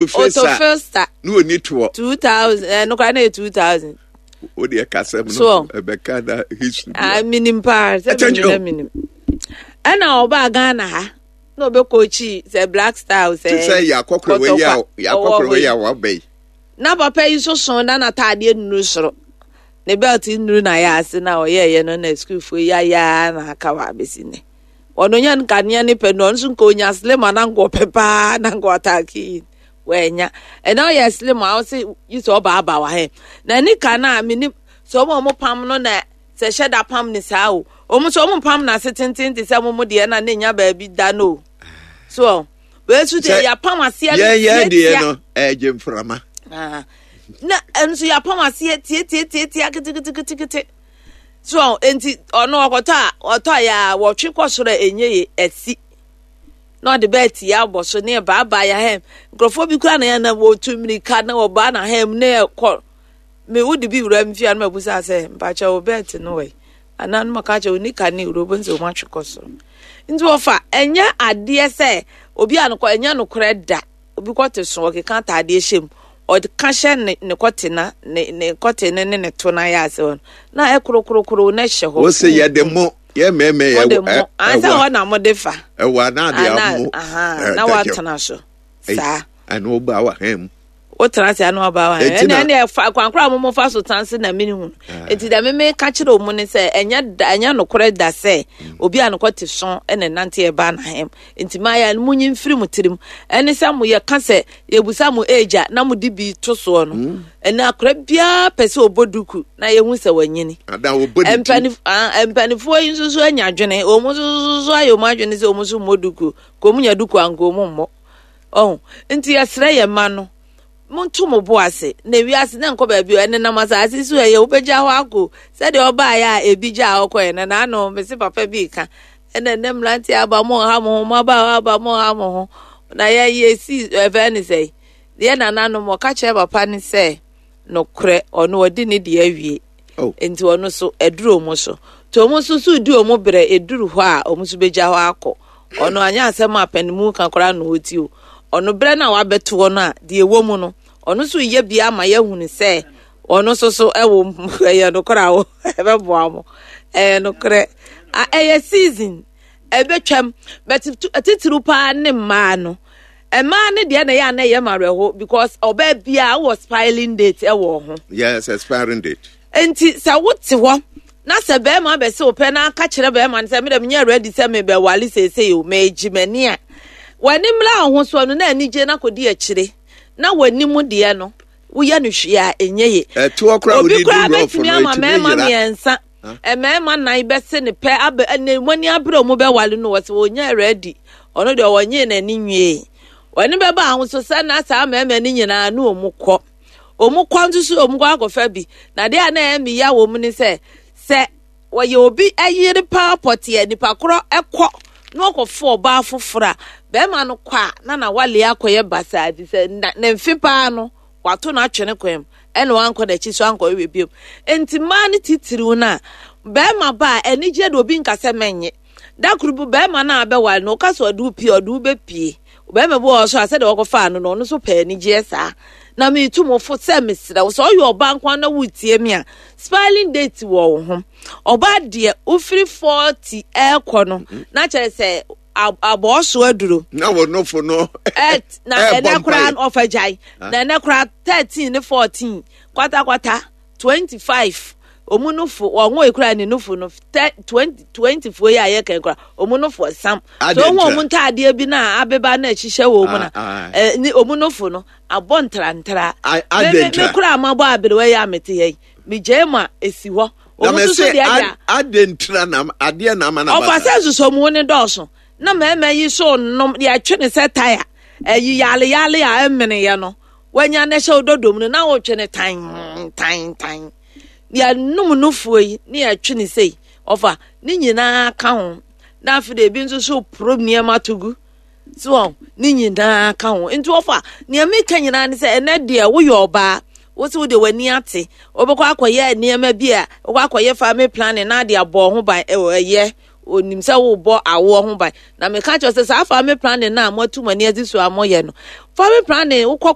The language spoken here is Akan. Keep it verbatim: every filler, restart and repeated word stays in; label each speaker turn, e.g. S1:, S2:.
S1: Otofilsta.
S2: Ne ɔni toɔ.
S1: Two thousand ɛno koraa na yɛ two thousand.
S2: O deɛ kasɛm no ɛbɛka na history.
S1: Ah, minim paa sɛ minim na minim. Ɛna ɔbaa Ghana ha na ɔbɛkɔkyi sɛ Black Star sɛ.
S2: Te sɛ yɛ akɔkorɔ wei a yɛ akɔkorɔ wei a waba yi.
S1: Na papa yi nso so na n'ataadeɛ nnuru soro, ne belt nnuru na yɛ ase na ɔyɛɛyɛ no na sukuufoɔ yi ayaa na aka wɔ abɛsi nnɛ. Ɔno nyɛ nkanea ne pɛ no, ɔno nso nka onya slim a na nka ɔpɛ paa na nka ɔtaake yi wɔanya. Ɛna ɔyɛ slim a ɔse yi sɛ ɔba aba wɔ ha na ne ka no a menim sɛ ɔmo a ɔmo pam no na sɛ hyɛ da pam ne saa o, ɔmo nso ɔmo pam n'ase tenten te sɛ mo mo deɛ na ne nya baabi da no o. So wei nso deɛ yɛapam aseɛ no
S2: yɛn deɛ no ɛgye mframa.
S1: Ah. Na ɛno nso yɛapam aseɛ tietietietia keteketekete so, nti ɔno ɔkɔtɔ a ɔtɔ a yɛ a wɔtwe kɔ soro a ɛnyɛ yɛ asi na ɔde bɛɛ ti abɔ so ne ɛbaabaa yɛ hɛm. Nkurɔfoɔ bi kura na yɛn na wɔtu mmirika na wɔbaa na hɛm na ɛkɔ me wode bi wura mfia no mabusa sɛ mpakyɛ wo bɛɛte no wɔ anaa no maka kyɛ wo nika ne wura wobɛhu sɛ wɔatwe kɔ soro. Nti wɔfa ɛnyɛ adeɛ sɛ obi a nokɔ ɛnyɛ nokorɛ da. Obi kɔte so ɔkeka ataadeɛ hyɛ mu, ɔka hyɛ ne ne kɔte na ne ne kɔte ne ne ne to na yɛ ase hɔ no na ɛkorokorokoro na ɛhyɛ hɔ.
S2: Wo se yɛde mo yɛ mɛmɛ yɛ
S1: mode mo ansa hɔ na mode fa
S2: ɛwɔ anaa de amo
S1: na watena so saa.
S2: Ɛna ɔba wa hɛn mu.
S1: Wotena ase ano aba wa ɛna ɛna ɛfa kwankora a mo fa so tena ase na mene hu. Eti dɛ meme ka kyerɛ ɔmo ne sɛ ɛnyɛ da, ɛnyɛ nokorɛ da sɛ obi a nokɔ te so ɛna nante ɛba na hɛm. Nti maa yɛ mo nyi mfiri mo tirim ɛne sɛ mo yɛ ka sɛ yɛbusa mo age na mo de bi to soɔ no. Ɛna akora biara pɛ sɛ ɔbɔ duku na yɛhu sɛ wanyini. Mpanifoɔ yi nso so anya adwene, wɔn nso so ayɛ wɔn adwene sɛ wɔn nso mmɔ duku, ka wɔn nya duku anka wɔn mmɔ. Ɔho nti yɛsrɛ yɛn mma no, monto mo bo ase na wiase na nkɔ baabi a ɛnenam asase so ɛyɛ wobɛgya hɔ akɔ sɛdeɛ ɔbaeɛ a ebi gya hɔ kɔɛ na n'ano mese papa bi ka ɛna ɛnɛ mmeranteɛ aba mo nha mo ho, mo aba aba mo nha mo ho na yɛyɛ si ɛfɛ ne sɛ yɛ nananom ɔka kyerɛ papa ne sɛ nokorɛ ɔno ɔde ne deɛ awie. Nti ɔno so ɛduru ɔmo so nti ɔmo nso so di ɔmo brɛ ɛduru hɔ a ɔmo nso bɛgya hɔ akɔ. Ɔno anyɛ asɛm a panimu ka koraa na ɔti o. Ɔno brɛ no a wabɛto hɔ no a deɛ ɛwɔ mu no ɔno nso yɛ bia ama yɛahunu sɛ ɔno nso so ɛwɔ ɛyɛ nokorɛ a ɛbɛboa mo. Ɛyɛ nokorɛ ɛyɛ season ɛbɛtwam, but titiriw paa ne mmaa no. Mmaa ne deɛ na ɛyɛ a na ɛyɛ ma awerɛho because ɔbaa biara wɔ expiring date ɛwɔ ho.
S2: Yes, expiring date.
S1: Nti sɛ wote hɔ na sɛ bɛrima bɛsɛ wo pɛ na aka kyerɛ bɛrima no sɛ medɛ menyɛ ready sɛ mebɛwale seesei o, megye m'ani a w'ani mmra wo ho soɔ no na anigye no akɔdi akyire na w'anim deɛ no woyɛ no hwee a ɛnyɛ ye. Obi koraa bɛtumi ama mmarima mmiɛnsa mmarima nan bɛse ne pɛ abɛ ɛnɛ wɔn ani abere wɔn bɛwale no wɔ sɛ wɔnyɛ ready, ɔno deɛ wɔnyee n'ani nwie wɔne bɛba ahosuo sɛ na saa mmarima no nyinaa ne wɔn kɔ wɔn kɔ nso so wɔn kɔ akɔfa bi. Na deɛ a na ɛyɛ mi ya wɔ mu ne sɛ sɛ wɔyɛ obi ɛyere paa pɔteɛ nipa korɔ ɛkɔ na ɔkɔfo ɔbaa foforɔ a bɛrima no kɔ a na na wale akɔyɛ basaa ti sɛ na ne mfe paa no wato n'atwene kwan mu ɛna wankɔ n'akyi so ankɔ ewe biom. Nti mmaa no titiriw no a bɛrima ba a anigye de obi nkasa mɛnye da koro bi bɛrima no a bɛwale no ɔka sɛ ɔde wo pie ɔde wo bɛpie bɛrima bi wɔ hɔ so a sɛdeɛ wɔkɔfaa no no ɔno nso pɛ anigyeɛ saa. Na metu mo fo sɛ mesrɛ wo sɛ ɔyɛ ɔbaa nko na wotie me a expiring date wɔ wo ho. Ɔbaa deɛ wofiri forty ɛrekɔ no na kyerɛ sɛ abɔɔso aduro
S2: na wɔnofo no
S1: na ɛnɛ koraa ɔfa gyae na ɛnɛ koraa thirteen ne fourteen kwatakwata twenty five ɔmu nofo wɔn ekura ne nofo no twenty twenty foɔ yi a yɛ kɛn koraa ɔmu nofo sam so ohun ɔmu ntaadeɛ bi na abeba na ɛhyehyɛ wɔ mu na ɛ ne ɔmu nofo no abɔ ntrantraa. Me me koraa ma bɔ aberewa yi a mete yɛ yi me gyae mu a esi hɔ.
S2: Na mɛ sɛ ade ntra na adeɛ na ama na
S1: ɔfa sɛ nsosomu ne dɔɔso na mmarima yi so nom yɛtwe ne sɛ taya ɛyi yale yale a ɛmene yɛ no wanya ne hyɛ ododom no na wotwe ne tan tan tan yɛnum nufuo yi ne yɛtwe ne sei ɔfa ne nyinaa ka ho na afei de ebi nso so poro nneɛma to gu so ne nyinaa ka ho. Nti ɔfa nea meka nyinaa ne sɛ ɛnɛ deɛ woyɛ ɔbaa wosi wo de w'ani ate wobɛkɔ akɔyɛ nneɛma bi a wobɛkɔ akɔyɛ family planning na de abɔ ho ban ɛwɔ ɛyɛ onim sɛ wobɔ awoɔ ho ban na meka kyerɛ sɛ saa family planning na moatu mo ani adi so a moyɛ no family planning wokɔ